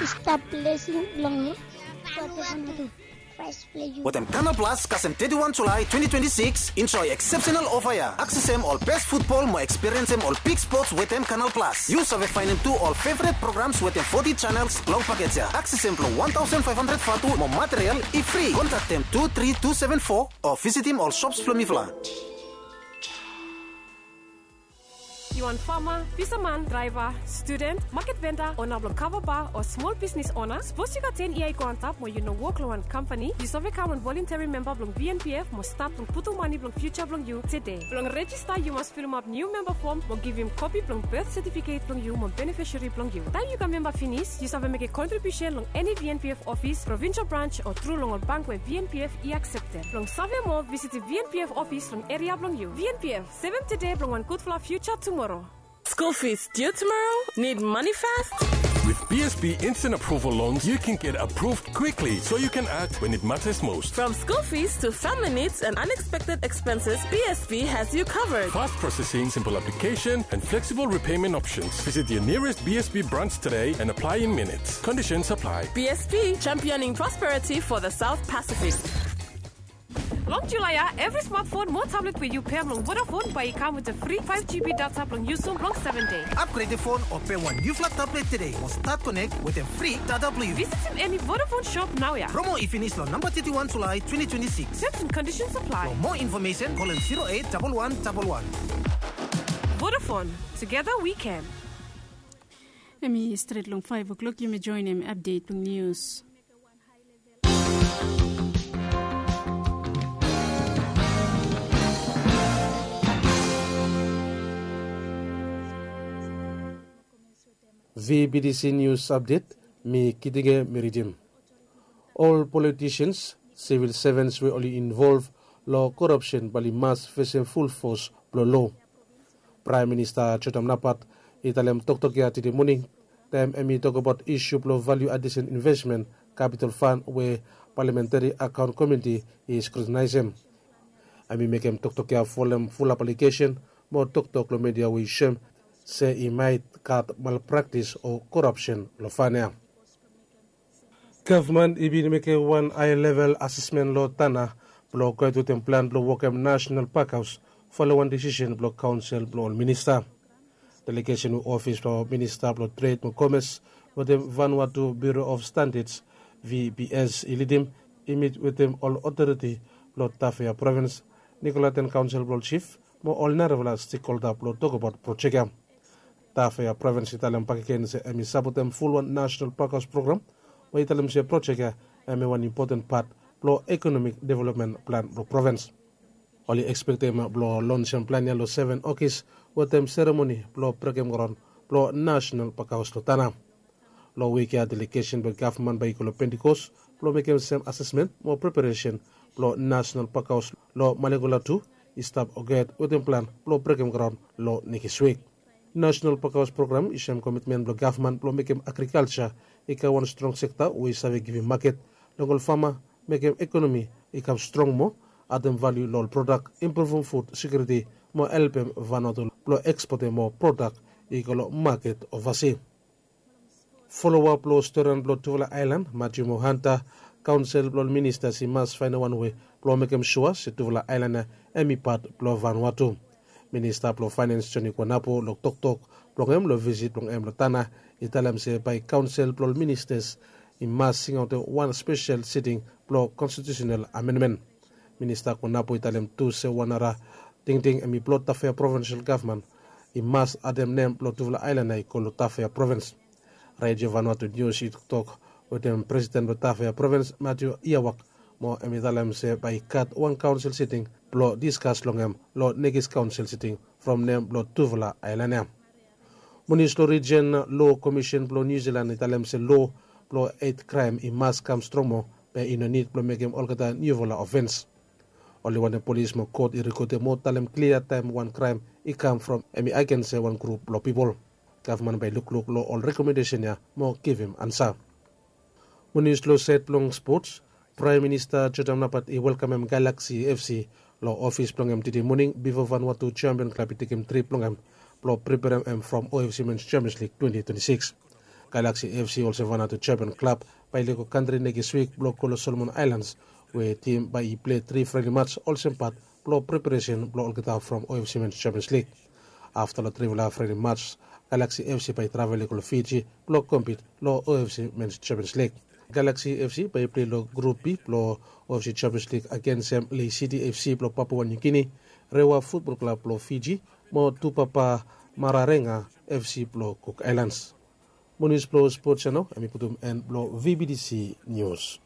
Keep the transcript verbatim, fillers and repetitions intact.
Stap lesin long Water Vanuatu. Fresh play you. Wetem Canal Plus kasem thirty-one July twenty twenty-six, enjoy exceptional offer ya. Aksesem ol best football mo experience em ol big sports wetem Canal Plus. Yu save findem tu ol favorite programs wetem forty channels long package ya. Aksesem blong one thousand five hundred vatu mo material i free. Contact them two three two seven four or visit him ol shops blong mifala. Yu wan fama, fisaman, draiva, studen, maket venda, ona blong kava ba o smol bisnis ona? Sapos yu gat ten yia i go antap mo yu no wok long wan kampani, yu save kam wan volunteri memba blong V N P F mo stat blong putum mane blong fiuja blong yu tede. Blong rejista yu mas filimap niu memba fom mo givim kopi blong bet setifiket blong yu mo benefisari blong yu. Taem yu kam memba finis, yu save mekem kontribiusen long eni V N P F ofis, provinsel brans o tru long ol bank we V N P F i akseptem. Blong save moa, visitim V N P F ofis long eria blong yu. V N P F, sevem tede blong wan gudfala fiuja tumoro. School fees due tomorrow? Need money fast? With B S B Instant Approval Loans, you can get approved quickly so you can act when it matters most. From school fees to family needs and unexpected expenses, B S B has you covered. Fast processing, simple application, and flexible repayment options. Visit your nearest B S B branch today and apply in minutes. Conditions apply. B S B, championing prosperity for the South Pacific. Long Julae ya, evri smartphone mo tablet we yu pem long Vodafone bae i kam wetem fri five G B data blong yusum long seven dei. Upgrade fon o pem wan niufala tablet tede mo stat konek wetem fri data blong yu. Visitim eni Vodafone shop naoia. Promo i finis long namba thirty-one Julae twenty twenty-six. Terms and conditions apply. For more information, call em zero eight double one double one. Vodafone, together we can. Hemi stret long five o'clock, yumi joenem update blong nius. V B T C News Update, mi Kitige mi ridim. Ol politicians, civil servants we oli involv long korapsen bae oli mas fesem ful fos blong lo. Praem Minista Jotam Napat i talem toktok ya tede moning taem hemi tokbaot isu blong value addition investment capital fund we Parliamentary Account Committee i scrutinize em. Hemi mekem toktok ya folem fulap alegesen mo toktok long media we i soem se i maet gat malpraktis o korapsen long fund ya. Gavman i bin mekem wan hae level asesmen long Tanna blong gohed wetem plan blong wokem Nasenal Pakhaos folem wan desisen blong kaonsel blong ol minista. Delegesen we ofis blong Minista blong Tred mo Komes wetem Vanuatu Bureau of Standards, V B S, i lidim i mit wetem ol otoriti blong Tafea Provins, Nicoleton Kaonsel blong ol Jif mo ol narafala stekholda blong tokbaot projek ya. Tafea Provins i talem bakegen se hemi sapotem fulwan Nasenal Pakhaos program we i talem se projek ya hemi wan impoten pat blong ekonomik developmen plan blong provins. Oli ekspektem blong lonsem plan ya long seven Okis wetem seremoni blong brekem graon blong Nasenal Pakhaos long Tanna. Long wik ya delegesen blong gavman bae i go long Pentikos blong mekem sem asesmen mo preparesen blong Nasenal Pakhaos long Malegola tu i stap gohed wetem plan blong brekem graon long nekis wik. Nasenal Pakhaos program i soem komitmen blong gavman blong mekem agrikalja i kam wan strong sekta we i save givim maket long ol fama, mekem ekonomi i kam strong moa, adem valiu long ol prodak, impruvum fud sekiuriti mo helpem Vanuatu blong ekspotem moa prodak i go long maket ovasi. Foloap long storian blong tufala aelan, Matthew mo Hunter, kaonsel blong ol ministas i mas faenem wan wei blong mekem sua se tufala aelan ya hemi pat blong Vanuatu. Minista blong Faenens Johnny Kuanapu long toktok blong hem long visit blong hem long Tanna i talem se bae kaonsel blong ol ministas i mas singaotem wan spesel siting blong konstitiusenal amenmen. Minista Kuanapu i talem tu se wan nara tingting hemi blong Tafea Provinsel Gavman i mas adem nem blong tufala aelan ya i go long Tafea Provins. Redio Vanuatu Nius i toktok wetem presiden blong Tafea Provins, Matthew Iawak, mo hemi talem se bae i gat wan kaonsel siting blong diskas long hem long nekis kaonsel siting from nem blong tufala aelan ya. Mo nius long rijen, Lo Komisen blong Niu Jilan i talem se lo blong het kraem i mas kam strong moa, be i no nid blong mekem olgeta niufala ofens. Oli wantem polis mo kot i rekodem mo talem klia taem wan kraem i kam from hemi agens se wan grup blong pipol. Gavman bae i lukluk long ol rekomendesen ya mo givim ansa. Mo nius long saed blong spots, Praem Minista Jotam Napat i welkamem Galaxy F C long ofis blong hem tede moning bifo Vanuatu Champion Klab i tekem trip blong hem blong preperem hem from O F C Mens Champions League twenty twenty-six. Galaxy FC olsem Vanuatu champion klab bae i lego kantri nekis wik blong go long Solomon Aelans, we tim bae i pilei tri frendli mats olsem pat blong preparesen blong olgeta from OFC Men's Champions League. Afta long trifala frendli mats, Galaxy FC bae i travel i go long Fiji blong kompit long OFC Men's Champions League. Galaxy FC bae i pilei long Grup B blong OFC Champions League agensem Lei City FC blong Papua New Guinea, Rewa Futbol Klab blong Fiji, mo Tupapa Mararenga FC blong Cook Islands. Mo nius blong spot ya nao hem i putum en blong VBTC Nius.